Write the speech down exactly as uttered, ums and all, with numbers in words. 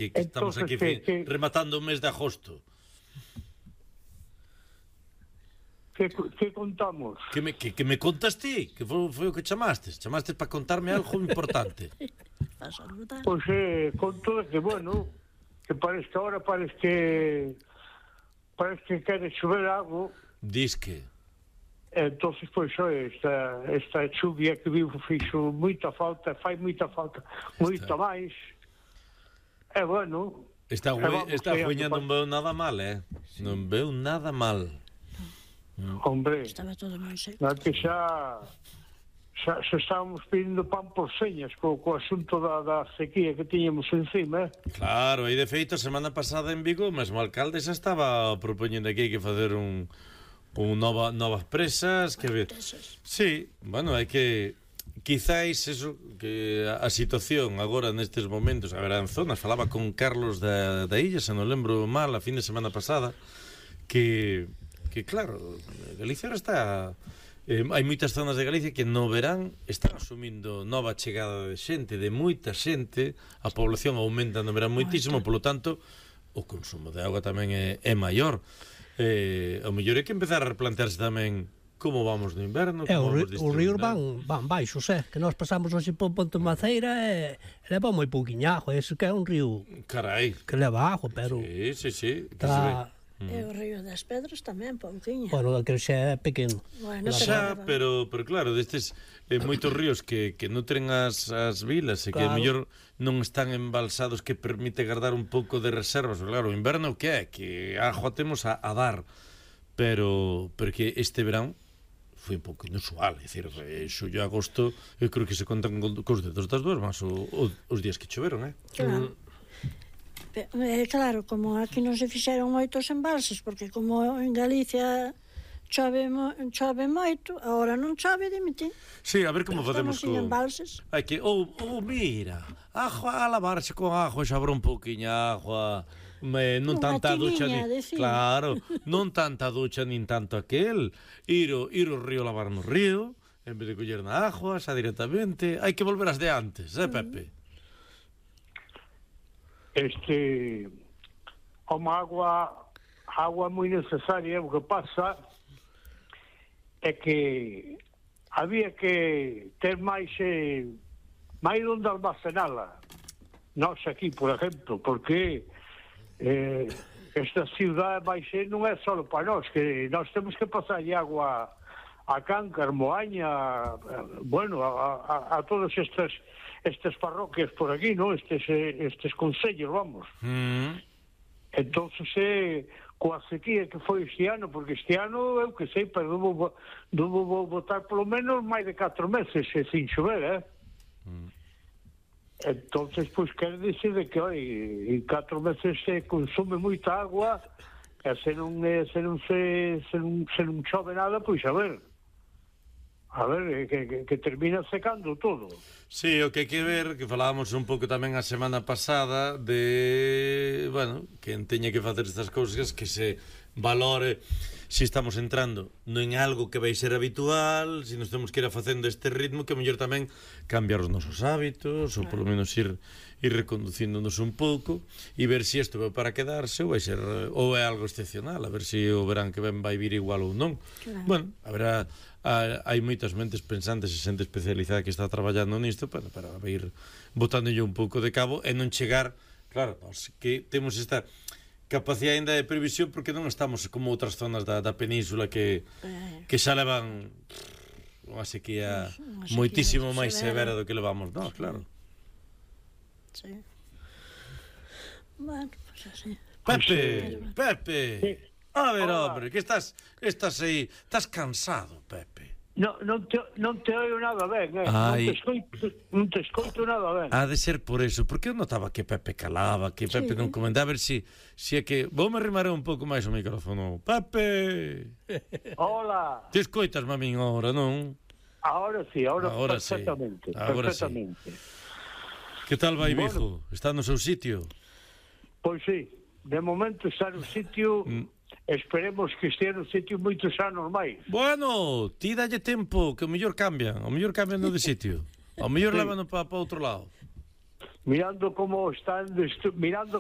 Que, que estamos Entonces, aquí que, fi- que, rematando o mes de agosto. que, que contamos? Que me, que, que me contas ti? Que foi, foi o que chamastes? Chamastes para contarme algo importante. Pois eh, conto que, bueno, que parece que ahora parece que parece que quere chover algo. Dis que... Entonces, pois, esta, esta chuvia que vivo fixo moita falta, fai moita falta, moita máis. E, bueno... Está, e güey, vamos está aí, jueña, non veo nada mal, eh? Sí. Non veo nada mal. Hombre, estaba todo moi seco. na que xa, xa, xa estábamos pedindo pan por señas co, co asunto da, da sequía que tiñamos encima, eh? Claro, aí de feito a semana pasada en Vigo, mesmo o alcalde xa estaba propoñendo aquí que facer un... un nova, novas presas que ver. Sí, bueno, hai que quizáis eso que a, a situación agora nestes momentos, a ver, en zonas falaba con Carlos da, da Illa, se non lembro mal, a fin de semana pasada que, que claro, Galicia ahora está eh, hai moitas zonas de Galicia que no verán están asumindo nova chegada de xente, de moita xente, a población aumenta no verán moitísimo, polo tanto o consumo de auga tamén é, é maior. Eh, o mellor é que empezar a replantearse tamén como vamos no inverno, É, como os vamos ríos van, van baixos, eh, que nós pasamos hoxe por Ponte Maceira e leva moi pouquiña agua, ese que é un río Carai. que leva agua, pero Sí, sí, sí, que tá, se ve. E o río das Pedras tamén, pouquiña. Bueno, aquel xa é pequeno. Bueno, Xa, pero, pero claro, destes eh, moitos ríos que, que nutren as, as vilas e que Claro. a mellor non están embalsados que permite guardar un pouco de reservas. Claro, o inverno que é? Que a agua temos a, a dar, pero porque este verán foi un pouco inusual, é dicir, xullo e agosto, eu creo que se contan co- cos dedos das duas más o, o, os días que choveron, eh? Claro. Eh, claro, como aquí non se fixeron moitos embalses, porque como en Galicia chove, mo, chove moito, agora non chove, dimiti. Sí, a ver como Estamos facemos sin co... embalses. Hai que, ou, oh, oh, mira, agua, a lavarse con agua, xa habrá un pouquiño agua, me, non Unha tanta ducha tiniña, ni, decía. claro, non tanta ducha nin tanto aquel, ir o, ir o río lavar no río, en vez de coller na agua, xa directamente, hai que volver as de antes, eh, Pepe? Este, como agua, agua moi necesaria, o que pasa é que había que ter máis eh, máis onde almacenala. Nós aquí, por exemplo, porque eh, esta ciudad vai ser, non é só para nós, que nós temos que pasar agua a Cáncar, Moaña, bueno, a, a, a todas estas estas parroquias por aquí, ¿no? Estes estes concellos, vamos. Mm. Entonces, eh, coa sequía que foi este ano, porque este ano, eu que sei, pero duvo, duvo botar polo menos máis de catro meses eh, sin chover, eh? Mm. Entonces, pois, quer dizer de que, oi, en catro meses se consume moita agua, e se non, eh, se non se, se non, se non chove nada, pois, a ver, a ver, que, que, que termina secando todo. Sí, o que hai que ver, que falábamos un pouco tamén a semana pasada de, bueno, que teña que facer estas cousas, que se valore se estamos entrando non en algo que vai ser habitual, se nos temos que ir a facendo este ritmo, que mellor tamén cambiar os nosos hábitos, ou polo menos ir ir reconducíndonos un pouco e ver se isto vai para quedarse ou vai ser ou é algo excepcional, a ver se o verán que ven vai vir igual ou non. Claro. Bueno, haberá a, hai moitas mentes pensantes e xente especializada que está traballando nisto para, para ir botándolle un pouco de cabo e non chegar, claro, nós que temos esta capacidade ainda de previsión porque non estamos como outras zonas da, da península que, que xa levan unha sequía moitísimo máis severa do que levamos nós, claro. Sí. Bueno, pues así. Pepe, Pepe. Sí. A ver, Hola. hombre, que estás estás aí, estás cansado, Pepe. No, non te, non te oio nada ben, eh? Ai. Non te escoito, non te escoito nada ben. Ha de ser por eso, porque eu notaba que Pepe calaba, que Pepe Sí. non comentaba, a ver si, si é que... Vou me arrimar un pouco máis o micrófono. Pepe! Hola. Te escoitas, mamín, ahora, non? Ahora sí, ahora, Ahora sí. perfectamente. Ahora sí. perfectamente. Que tal vai, Bueno. Vigo? Está no seu sitio? Pois sí, de momento está no sitio, Mm. esperemos que estea no sitio moitos anos máis. Bueno, ti dalle tempo, que o mellor cambian, o mellor cambian no de sitio. O mellor Sí. lévano para pa outro lado. mirando como están destru... mirando